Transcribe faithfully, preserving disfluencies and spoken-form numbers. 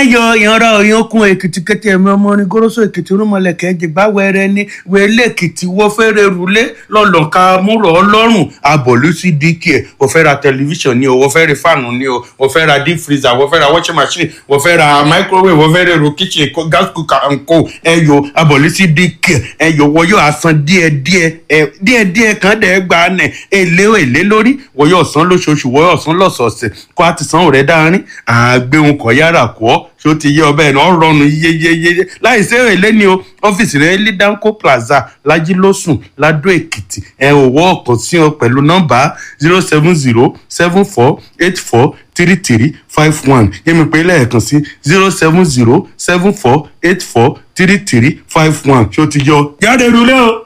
Ẹ yọ ìyanra òyìnkùn Èkìtì kété ẹ̀mí ọmọ orin goroso Èkìtì rúmọlẹ̀kẹ́ jìgbà wẹrẹ ní wẹlé Èkìtì wọ́n fẹ́rẹ̀ rúlé lọ́lọ́ka múrọ̀ ọlọ́run abọ̀lú sí dk. Wọ́n fẹ́ ra tẹlifíṣàn ni o, wọ́n fẹ́ ra fáànù ni o, wọ́n fẹ́ ra deep freezer, wọ́n fẹ́ ra washing machine, wọ́n fẹ́ ra microwave, wọ́n fẹ́ ra èrò kitchen, gas cooker and co. Ẹ yọ abọ̀lú sí dk. Ẹ yọ wọ́n yóò asan díẹ̀díẹ̀, ẹ díẹ̀díẹ̀ kan dẹ̀ gba nẹ̀ èlé èlé lórí. Wọ́n yóò san lóṣooṣù, wọ́n yóò san lọ́sọ̀ọ̀sẹ̀ kó a ti san òrẹ́ dáárín àgbéhùn kọ̀ yára kọ́. Ṣó ti yé ọbẹ̀ náà rọrùn yeyeyeye láì sí èlé ni o. Ọ́fíìsì rẹ̀ ní Danco Plaza, Lajilósùn, Ladó Èkìtì. Ẹ ò wọ́ ọ̀kan sí ọ pẹ̀lú nọ́mbà zero seven zero seven four eight four three three five one. Yẹ́mi pé lẹ́ẹ̀kan sí zero seven zero seven four eight four three three five one. Ṣó ti yọ jáde rúlé o.